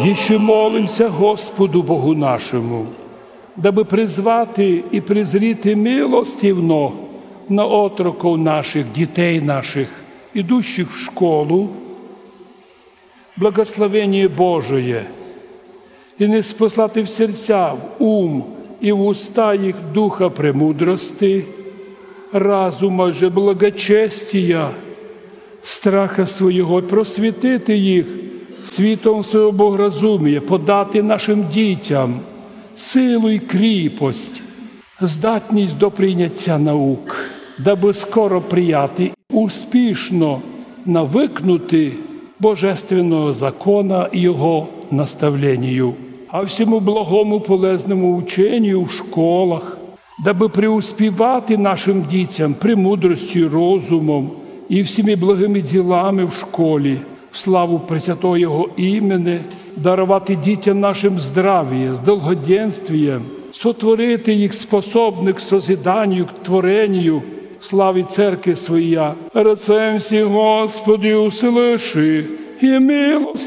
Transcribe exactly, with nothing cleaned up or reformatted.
Іщи молимся Господу Богу нашому, дабы призвати і призріти милостивно на отроков наших, дітей наших, ідущих в школу, благословеніє Божоє, і ниспослати в серця, в ум і в уста їх духа премудрости, разума же благочестія, страха свого, просвітити їх світом свого богоразумія, подати нашим дітям силу і кріпость, здатність до прийняття наук, дабы скоро прияти, успішно навыкнути божественного закона і його наставленію, а всьому благому полезному ученію в школах, дабы преуспівати нашим дітям премудростю, розумом і всіми благими ділами в школі, в славу пресвятого Його імени, даровати дітям нашим здравіє з долгоденствієм, сотворити їх способных к созиданію, к творенію, славі церкви своя. Рецем всі, Господи, услыши і милость